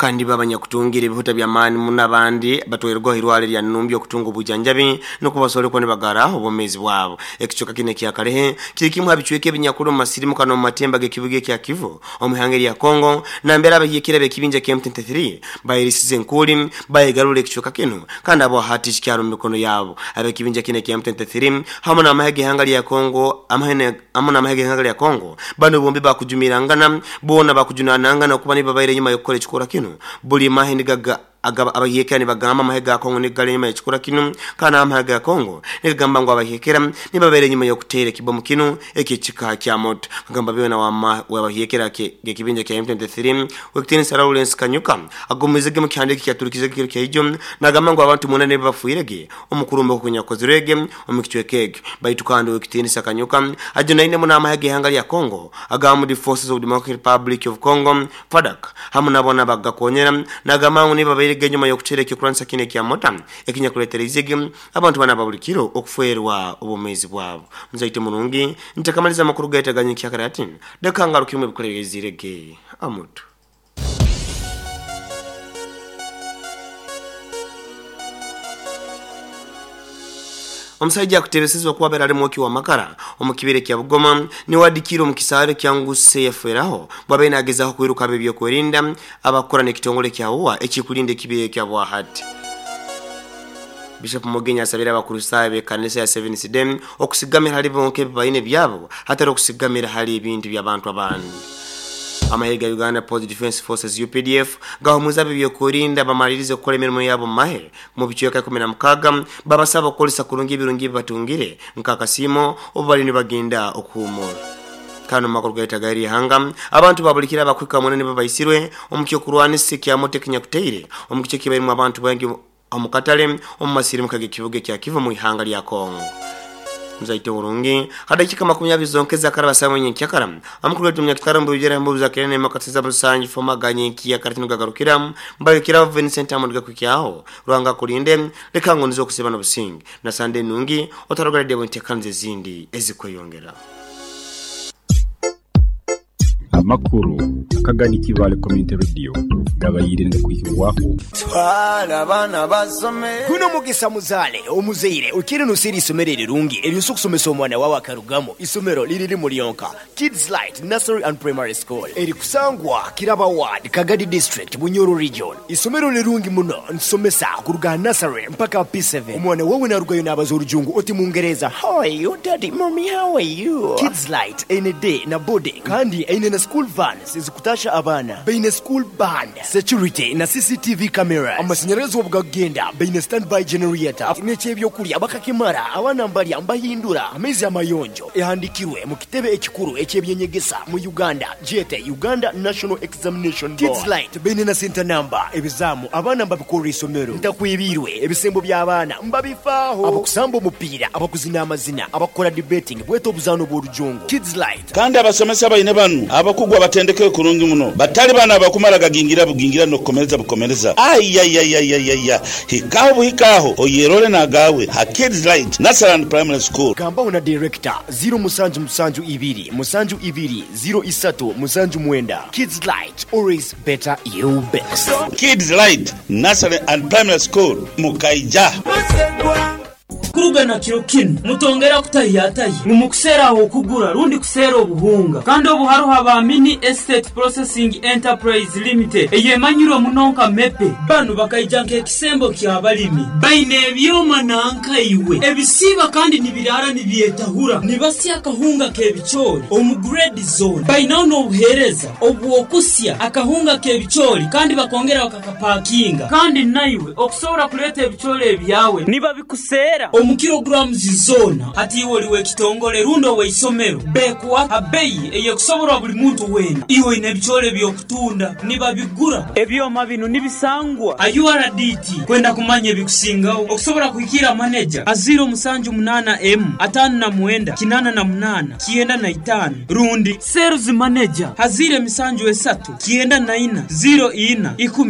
Kandi babanyakutungire ebihuta by'amaani muno, abandi batwairweho irwaro lya Numbi okutunga obujanjabi nukwo basobole kuba nibagara obwomeezi bwabo. Ekicweka kinu ekya Kalehe kiri kimu ha bicweka ebinyakuli omu masirimuka n'omu matemba g'ekibuga ekya Kivu omu ihanga erya Congo nambere abahiikire ab'ekibinja kya M23 bayerisize enkuuli bayegarura ekicweka kinu kandi abo hati kikyali omu mikono yabo. Ab'ekibinja kinu ekya M23 hamu n'amahe g'ihanga lya Congo hamu n'amahe g'ihanga lya Congo Banu bombi baakujumirangana, boona baakujunanangana okuba nibo babaire enyuma y'okukora ekikorwa kinu. Buli mahe nigaga aga abahiekera nibagamba amahe ga Congo nigo gali enyuma y'ekikorwa kinu, kandi amahe ga Congo nigagamba ngu abahiekera nibo babaire enyuma y'okuteera ekibomu kinu eky'ekika kya moto. Kagamba byona w'abahiekera g'ekibinja kya M23 w'ekitiinisa Lawrence Kanyuka agumize ge mu kihandiiko ekyaturukizege ekiro kya ijo nagamba ngu abantu mwenda nibo bafiire ge omu kurumba oku kunyakukozirwege omu kicweka ekyo. Baitu kandi Ow'ekitiinisa Kanyuka ajunaine muno amahe g'ihanga lya Congo aga Armed Forces of Democratic Republic of Congo, FARDC, hamu na boona abakugakonyera, nagamba ngu nibo babairege enyuma y'okuteera eky'okurwanisa kinu ekya mota ekinyakuletereizege abantu banu aba buli kiro okufeerwa obwomeezi bwabo. Muzaite murungi, ntakamaliza amakuru gaitu aga nyenkyakara hati, leka ngarukiremu ebikora ebyaiziirege amutu. Omusaija akutebesezibwa kuba abaire ali mwoki w'amakara omu kibira ekya Bugoma niwe adikiire omu kisaaru ekya Nguse yafeeraho bwabaire nagezaho kwiruka ab'ebyokwerinda abakukora n'ekitongole kya UWA ekikulinda ekibira ekyo habwahati. Bishop Mugenyi asabire Abakristaayo b'ekanisa ya Seventh Day okusigamira hali bonka ebi baine byabo hatari okusigamira hali ebintu by'abantu abandi. Amahe ga Uganda Post Defence Forces, UPDF, gahumuize ab'ebyokwerinda bamalirize kukora emirimo yabo omu mahe omu bicweka 16, babasaba okukoresa kurungi ebirungi ebi batungire nk'akasiimo obu bariyo nibagenda okuhuumura. Kandi omu makuru gaitu ag'eri ihanga, abantu ba buli kiro abakuhika mwenda nibo baisirwe omu ky'okurwanisa ekya moto ekinyakutaire omu kicweka ekibairemu abantu baingi omu katale omu masirimuka g'ekibuga ekya Kivu omu ihanga lya Congo. Muzaite orungi, ha dakiika makumi abiri zonka ezakaraba saawa nyenkyakara, amakuru gaitu omunyakitara omu bwijwire aha mbuzi za Kirene Makatiza Musanju Foma aga nyenkyakara tinu gagarukira mbalekeraho Vincent Hammond gakuhikyaho. Ruhanga akulinde, leka ngu nize okusiiba n'obusinge. Na Sande enungi, otaroga radio entekaniza ezindi ezikweyongera. Amakuru akagani Kibaale Community Radio gabaire nigakwihibwaho. Guno mugisa muzaale omuzaire oikire noseera eisomero erirungi eryosobola okusomesa omwana wawe akarugamu. Isomero liri limu lyonka, Kids Light Nursery and Primary School erikusangwa Kiraba Ward, Kagadi District, Bunyoro Region. Isomero lirungi muno, nitusomesa kuruga aha nursery mpaka aha P7. Omwana wawe narugayo nabaza orujungu oti Mungereza, How are you daddy, mummy how are you? Kids Light eine day na boarding kandi eine na school vans ezikutasha abaana. Baine school band, security na CCTV cameras. Amashanyarazi obu gakugenda baine standby generator. N'eky'ebyokurya bakakimara, abaana mbarya mbahindura amaizi amayonjo. Ehandikirwe mu kitebe ekikuru eky'ebyenyegesa mu Uganda gyete Uganda National Examination Board. Kids Light baine na senta namba, ebizaamu abaana mbabikorra isomero. Ntakwebiirwe, ebisembo by'abaana mbabifaaho. Abakusamba omupiira, abakuzina amazina, abakukora debating bwete obuzaano bw'orujungu. Kids Light. Kandi abasomesa baine banu abakugu abatendekeirwe kurungi muno, batali banu abakumara gagingira bugingira n'okukomereza bukomereza. Aiaiaiaiaia! Hikaho buhika aho oyerole n'agaawe ha Kids Light Nursery and Primary School. Gambaho na Director, ziro musanju musanju ibiri musanju ibiri ziro isatu musanju mwenda. Kids Light, always better you best. Kids Light Nursery and Primary School, Mukaija. Kuruga na kiro kinu, mutongera kutahiyatahya ngu mukuseera ah'okugura rundi kuseera obuhunga. Kandi obu haroho aba Mini Estate Processing Enterprise Limited eyemanyirwe muno nka MEPE. Banu bakaija nk'ekisembo ky'abalimi. Baine ebyoma nanka iwe ebisiiba kandi nibiraara nibyetahura, nibasya akahunga k'ebicoori omu grade zoona. Bainaho n'obuheereza obw'okusya akahunga k'ebicoori kandi bakongera bakakapakinga. Kandi naiwe okusobora kuleeta ebicoori ebyawe nibabikuseera omu kilograms zoona. Hati iwe oli w'ekitongole rundi ow'eisomero, beekuha ha beyi ey'ekusoborwa buli muntu weena. Iwe oine ebicoori eby'okutunda, nibabigura. Ebyoma binu nibisangwa ha URDT. Kwenda kumanya ebikusingaho, okusobora kuhikiira maneja ha 078 emu 59 88 95 rundi Sales Manager ha 073 94 04 10.